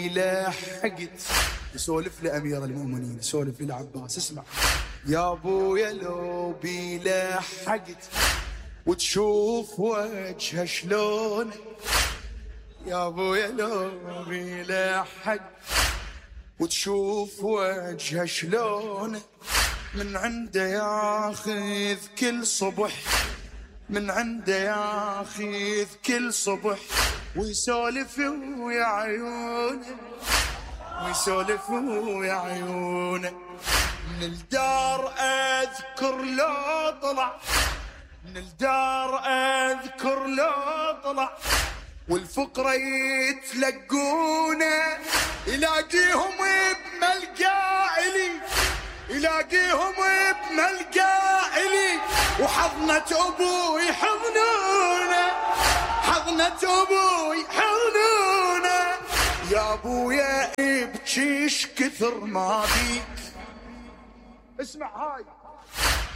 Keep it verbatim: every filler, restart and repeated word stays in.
لحقت يسولف لأمير المؤمنين، يسولف إلى عباس. اسمع يا ابويا لو بي لحقت وتشوف وجهه شلون، يا ابويا لو بي لحقت وتشوف وجهه شلون، من عنده ياخذ كل صبح، من عنده ياخذ كل صبح ويسولف ويا عيونه، ويسولف ويا عيونه. من الدار اذكر لو طلع، من الدار اذكر لو طلع والفقرة يتلقونه، يلاقيهم بملقى إلي، يلاقيهم بملقى إلي وحضنة أبوي حضنونه، حضنة أبوي حضنونه. يا أبويا ابكيش كثر ما بيك، اسمع هاي